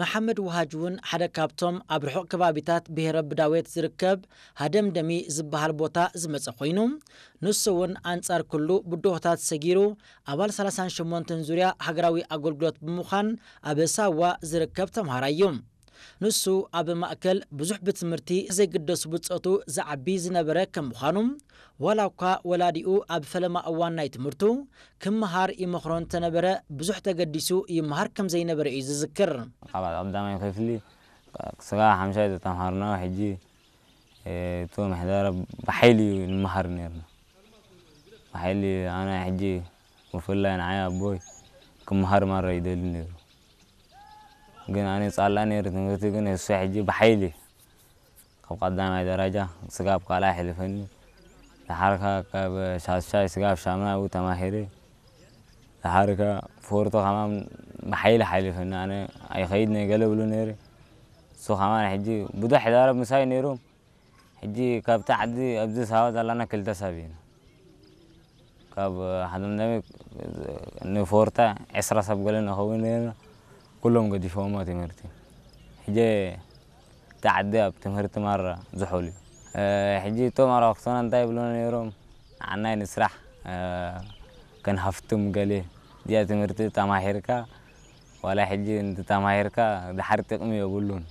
መሓመድ ውሃጅ እውን ሓደ ካብቶም ኣብ ርሑቕ ከባቢታት ብሄረ ብዳዌት ዝርከብ ሃደምደሚ ዝበሃል ቦታ ዝመጸ ኮይኑ፣ ንሱ እውን ኣንጻር ኩሉ ብድሆታት ሰጊሩ ኣባል ሰላሳን ሸሞንተን ዙርያ ሃገራዊ ኣገልግሎት ብምዃን ኣብ ሳዋ ዝርከብ ተምሃራይ እዩ። ንሱ ኣብ ማእከል ብዙሕ ብትምህርቲ ዘይግደሱ ብጾቱ ዝዓቢ ዝነበረ ከም ምዃኑ፣ ዋላ እኳ ወላዲኡ ኣብ ፈለማ እዋን ናይ ትምህርቱ ክመሃር ይመኽሮ እንተነበረ፣ ብዙሕ ተገዲሱ ይመሃር ከም ዘይነበረ እዩ ዝዝክር። ካብ ቀዳማይ ክፍሊ ስጋ ሓምሻይ ዝተምሃርና ሕጂ፣ እ፣ እቱ ምሕደራ ብሓይሊ እዩ ንምሃር ነርና። ብሓይሊ ኣነ ሕጂ ብፍላይ ንዓይ ኣቦይ ክመሃር ማራ ይደሊ ነይሩ። ግን ኣነ ጻላ ነይሩ ትምህርቲ፣ ግን እሱ ሕጂ ብሓይሊ ካብ ቀዳማይ ደረጃ ስጋብ ካልኣይ ኣሕሊፈኒ። ደሓርካ ካብ ሻሻይ ስጋብ ሻምናይ ተማሂረ። ደሓርካ ፎርቶ ከማን ብሓይሊ ሓሊፈኒ። ኣነ ኣይኸይድ ነይ ገለ ብሉ ነይረ። እሱ ከማን ሕጂ ብዙሕ ይዛረብ ምሳይ ነይሩ። ሕጂ ካብቲ ዓዲ ኣብዚ ሳዋ ዘላና ክልተ ሰብ ኢና። ካብ ሓደ ንፎርታ ዕስራ ሰብ ገለ ንኸውን ነርና። ኩሎም ገዲፎሞ ትምህርቲ። ሕጂ እቲ ዓዲ ኣብ ትምህርቲ ማራ ዝሑል እዩ። እ፣ ሕጂ እቶም ኣርባዕቶና እንታይ ይብሉና ነይሮም? ንዓናይ ንስራሕ፣ እ፣ ከንሃፍትም ገለ። እዚኣ ትምህርቲ ተማሂርካ፣ ዋላ ሕጂ እንተተማሂርካ ድሓር ጥቕሚ የብሉን።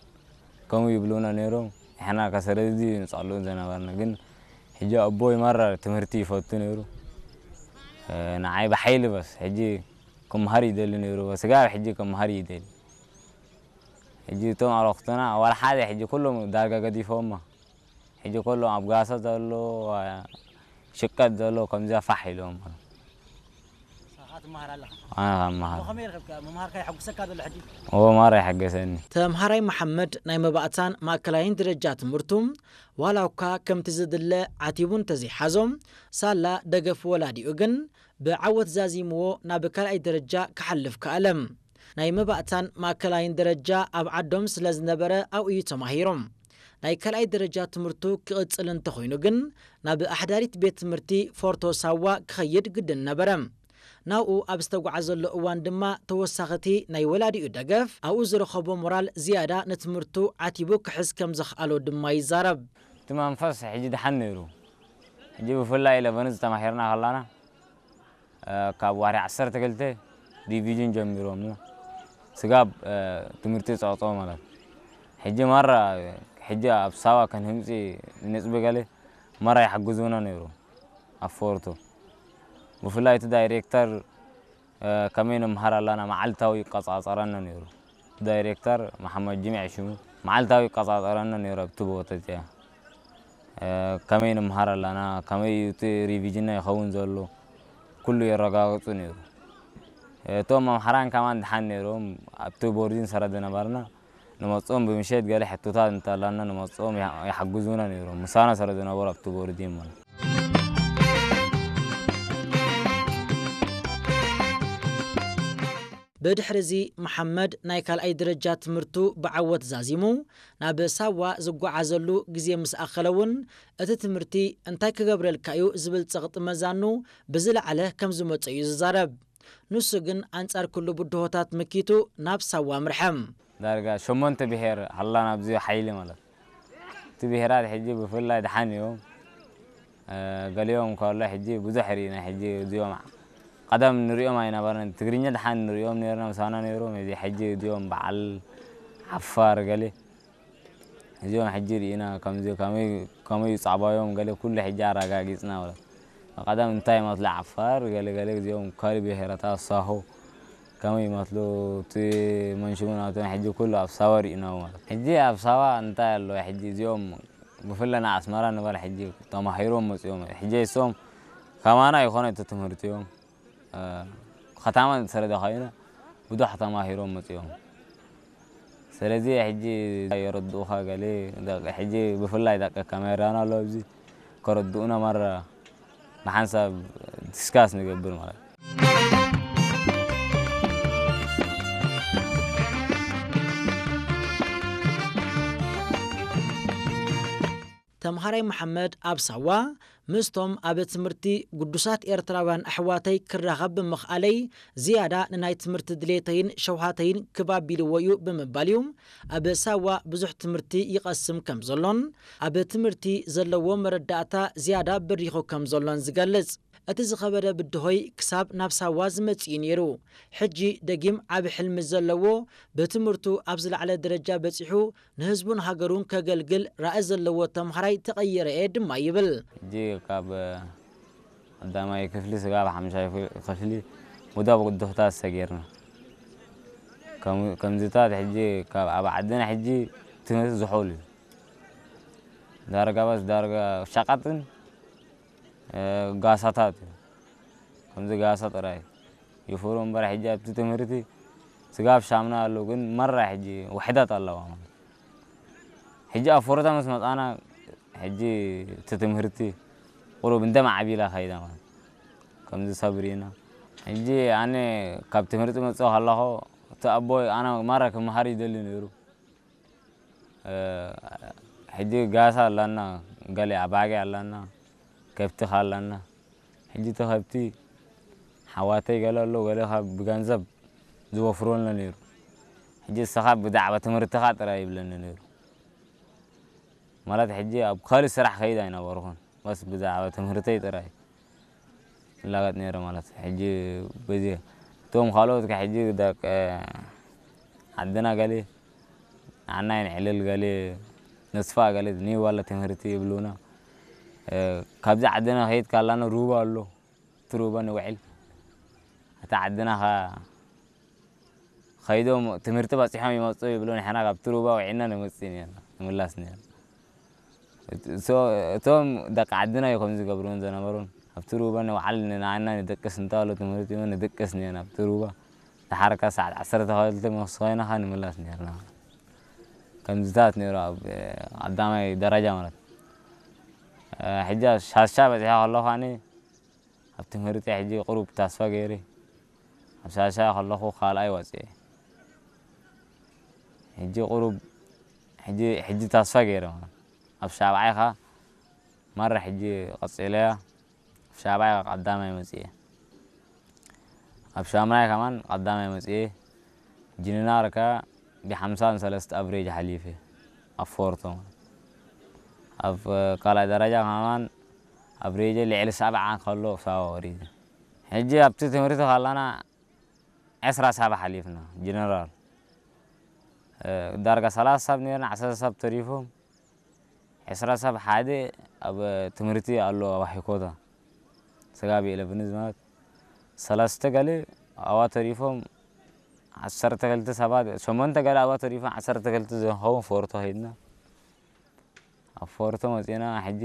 ከምኡ ይብሉና ነይሮም። ንሕና ከሰለዚ ንጸልኡ ዝነበርና። ግን ሕጂ ኣቦይ ማራ ትምህርቲ ይፈቱ ነይሩ። እ፣ ንዓይ ብሓይሊ በስ ሕጂ ክመሃር ይደሊ ነይሩ። በስ ጋር ሕጂ ክመሃር ይደሊ። ሕጂ እቶም ኣረኽቶና ዋላ ሓደ ሕጂ ኩሎም ዳርጋ ገዲፎማ። ሕጂ ኩሎም ኣብ ጋሳ ዘሎ፣ ሽቀት ዘሎ ከምዚያ ፋሕ ኢሎም። ንስኻ ትመሃር ኣለኻ? ኣነ ካብ መሃር። ከመይ ረኸብካ? ምምሃርካ የሐጉሰካ ዘሎ ሕጂ? ኦ፣ ማራ ይሐገሰኒ። ተምሃራይ መሓመድ ናይ መባእታን ማእከላይን ደረጃ ትምህርቱ ዋላ እኳ ከምቲ ዝድለ ዓቲቡ እንተዘይሓዞ፣ ሳላ ደገፍ ወላዲኡ ግን ብዓወት ዛዚምዎ ናብ ካልኣይ ደረጃ ክሓልፍ ከኣለ። ናይ መባእታን ማእከላይን ደረጃ ኣብ ዓዶም ስለ ዝነበረ ኣብኡ እዩ ተማሂሩ። ናይ ካልኣይ ደረጃ ትምህርቱ ክቕጽል እንተኾይኑ ግን ናብ ኣሕዳሪት ቤት ትምህርቲ ፎርቶ ሳዋ ክኸይድ ግድን ነበረ። ናብኡ ኣብ ዝተጓዓዘሉ እዋን ድማ ተወሳኺቲ ናይ ወላዲኡ ደገፍ ኣብኡ ዝረኸቦ ሞራል ዝያዳ ንትምህርቱ ዓቲቡ ክሕዝ ከም ዘኽኣሎ ድማ ይዛረብ። እቲ መንፈስ ሕጂ ደሓን ነይሩ። ሕጂ ብፍላይ ኢለቨንዝ ተማሂርና ከላና፣ እ፣ ካብ ዋሪ ዓሰርተ ክልተ ዲቪዥን ጀሚሮም ስጋብ፣ እ፣ ትምህርቲ ጸቕጦ ማለት። ሕጂ ማራ፣ ሕጂ ኣብ ሳዋ ከንህምጺ ንጽቢ ገለ ማራ ይሓግዙና ነይሩ። ኣብ ፎርቶ ብፍላይ እቲ ዳይሬክተር፣ እ፣ ከመይ ንምሃር ኣላና መዓልታዊ ይቆጻጸረና ነይሩ። ዳይሬክተር መሓመድ ጅሚዕ ሽሙ መዓልታዊ ይቆጻጸረና ነይሩ። ኣብቲ ቦታ እዚኣ፣ እ፣ ከመይ ንምሃር ኣላና፣ ከመይ እዩ እቲ ሪቪዥንና ይኸውን ዘሎ፣ ኩሉ የረጋግጹ ነይሩ። እቶም መምሃራን ከማን ደሓን ነይሮም፣ ኣብቲ ቦርዲን ሰረ ዝነበርና ንመጽኦም ብምሸት ገለ ሕቶታት እንተላና ንመጽኦም ይሓ-፣ ይሓግዙና ነይሮም። ምሳና ሰረ ዝነበሩ ኣብቲ ቦርዲን ማለት። ብድሕሪ እዚ መሓመድ ናይ ካልኣይ ደረጃ ትምህርቱ ብዓወት ዛዚሙ ናብ ሳዋ ዝጓዓዘሉ ግዜ ምስ ኣኸለ እውን እቲ ትምህርቲ እንታይ ክገብረልካ እዩ ዝብል ጸቕጢ መዛኑ ብዝለዓለ ከም ዝመጾ እዩ ዝዛረብ። ንሱ ግን ኣንጻር ኩሉ ብድሆታት መኪቱ ናብ ሳዋ ኣምርሐ። ዳርጋ ሸሞንተ ብሄር ሃላና ኣብዚ ሓይሊ ማለት። እቲ ብሄራት ሕጂ ብፍላይ ደሓን እዮም። እ፣ ገሊኦም ከሎ ሕጂ ብዙሕ ርኢና። ሕጂ እዚኦም ቀደም ንሪኦም ኣይነበረን። ትግርኛ ደሓን ንሪኦም ነርና፣ ምሳና ነይሮም። እዚ ሕጂ እዚኦም በዓል ዓፋር ገለ እዚኦም ሕጂ ርኢና፣ ከምዚ ከመይ፣ ከመይ ጻዕባዮም ገለ ኩሉ ሕጂ ኣረጋጊጽና ማለት። ቀደም እንታይ ይመስሉ ዓፋር ገለ ገለ፣ እዚኦም ካልእ ብሄረታት ሳሆ ከመይ ይመስሉ፣ እቲ መንሽሙ ናቶም ሕጂ ኩሉ ኣብ ሳዋ ርኢናዎ ማለት። ሕጂ ኣብ ሳዋ እንታይ ኣሎ? ሕጂ እዚኦም ብፍላይ ኣስመራ ንበል፣ ሕጂ ተማሂሮም መጺኦም። ሕጂ እሶም ከማና ይኾነ እቲ ትምህርቲኦም። እ፣ ከተማ ስለ ዝኾይኑ ብዙሕ ተማሂሮም መጺኦም። ስለዚ ሕጂ የረድኡኻ ገለ፣ ደቂ፣ ሕጂ ብፍላይ ደቂ ካሜራና ኣሎ ኣብዚ፣ ከረድኡና ማራ ንሓንሳብ ዲስካስ ንገብር ማለት። ተምሃራይ መሓመድ ኣብ ሳዋ ምስቶም ኣብ ትምህርቲ ግዱሳት ኤርትራውያን ኣሕዋተይ ክራኸብ ብምኽኣለይ ዝያዳ ንናይ ትምህርቲ ድሌተይን ሸውሃተይን ክብ ኣቢልዎ እዩ ብምባል እዩ ኣብ ሳዋ ብዙሕ ትምህርቲ ይቐስም ከም ዘሎን ኣብ ትምህርቲ ዘለዎ መረዳእታ ዝያዳ በሪኹ ከም ዘሎን ዝገልጽ። እቲ ዝኸበደ ብድሆይ ክሳብ ናብ ሳዋ ዝመጽእ እዩ ነይሩ። ሕጂ ደጊም ዓቢ ሕልሚ ዘለዎ፣ ብትምህርቱ ኣብ ዝለዓለ ደረጃ በጺሑ ንህዝቡን ሃገሩን ከገልግል ራኢ ዘለዎ ተምሃራይ ተቐይረ እየ ድማ ይብል። ሕጂ ካብ ቀዳማይ ክፍሊ ስጋብ ሓምሻይ ክፍሊ ሙዳ ብቅዱሕታት ሰጊርና። ከም-፣ ከምዚታት ሕጂ ካብ ኣብ ዓድና ሕጂ ትምህርቲ ዝሑል እዩ። ዳርጋ ባስ ዳርጋ ሸቐጥን፣ እ፣ ጋሳታት እዩ። ከምዚ ጋሳ ጥራይ ይፍሩ እምበር ሕጂ ኣብቲ ትምህርቲ ስጋብ ሻምና ኣሎ፣ ግን መራ ሕጂ ውሕደት ኣለዋ ማለት። ሕጂ ኣብ ፎረታ ምስ መጻና ሕጂ እቲ ትምህርቲ ቁሩብ እንደ ማዕቢላ ከይዳ ማለት። ከምዚ ሰብ ርኢና። ሕጂ ኣነ ካብ ትምህርቲ መጽኦ ከለኹ እቲ ኣቦይ ኣነ ማራ ክመሃር ይደሊ ነይሩ። እ፣ ሕጂ ጋሳ ኣላና፣ ገለ ኣባጊዕ ኣላና፣ ከብቲ ከ ኣላና። ሕጂ እቲ ከብቲ ሓዋተይ ገለ ኣሎ፣ ገለ ካብ ብገንዘብ ዝወፍረልና ነይሩ። ሕጂ እስኻ ብዛዕባ ትምህርትኻ ጥራይ ይብለኒ ነይሩ። ማለት ሕጂ ኣብ ካልእ ስራሕ ከይድ ኣይነበርኩን። በስ ብዛዕባ ትምህርተይ ጥራይ ይላገጥ ነይረ ማለት። ሕጂ በዚ እቶም ካልኦት ከ ሕጂ ደቂ ዓድና ገለ ንዓና የንዕልል፣ ገለ ነስፋ፣ ገለ ኒዋላ ትምህርቲ ይብሉና። እ፣ ካብዚ ዓድና ከይድ ካላና ሩባ ኣሎ፣ እቲ ሩባ ንውዕል። እታ ዓድና ከ ኸይዶም ትምህርቲ በጺሖም ይመጹ ይብሉ፣ ንሕና ካብቲ ሩባ ውዒልና ንመጽእ ነርና፣ ንምላስ ነርና። እቶ-፣ እቶም ደቂ ዓድና እዩ ከምዚ ዝገብሩን ዝነበሩን። ኣብቲ ሩባ ንውዓል፣ ንዓና ንደቅስ እንተበሉ ትምህርቲ እውን ንድቅስ ነርና ኣብቲ ሩባ። ደሓር ከ ሰዓት ዓሰርተ ክልተ ምስ ኮይና ከ ንምላስ ነርና። ከምዚታት ነይሩ ኣብ ቀዳማይ ደረጃ ማለት። እ፣ ሕጂ ኣብ ሻሻ በጺሐ ከለኹ ኣነ ኣብ ትምህርቲ ሕጂ ቁሩብ ተስፋ ገይረ። ኣብ ሻሻ ከለኹ ካልኣይ ወፅኤ። ሕጂ ቁሩብ፣ ሕጂ፣ ሕጂ ተስፋ ገይረ ማለት። ኣብ ሻብዓይ ኸ ማራ ሕጂ ቀፂለያ። ኣብ ሻብዓይ ቀዳማይ መፅኤ። ኣብ ሻምናይ ከማን ቀዳማይ መፅኤ። ጅንናር ከ ብሓምሳን ሰለስተ ኣቭሬጅ ሓሊፈ። ኣብ ፎርቶ ማለት። ኣብ ካልኣይ ደረጃ ከማን ኣቭሬጀ ልዕሊ ሰብዓ ከሎ ሳዋ ወሪደ። ሕጂ ኣብቲ ትምህርቲ ከለና ዕስራ ሰብ ሓሊፍና፣ ጀነራል። እ፣ ዳርጋ ሰላሳ ሰብ ነርና፣ ዓሰርተ ሰብ ተሪፎም። ዕስራ ሰብ ሓደ ኣብ ትምህርቲ ኣሎ፣ ኣብ ሃይኮታ። ስጋብ ኢለቨንዝ ማለት ሰለስተ ገለ ኣብኣ ተሪፎም፣ ዓሰርተ ክልተ ሰባት፣ ሸሞንተ ገለ ኣብኣ ተሪፎም፣ ዓሰርተ ክልተ ዝኸውን ፎርቶ ኸይድና። ኣብ ፎርቶ መጺና፣ ሕጂ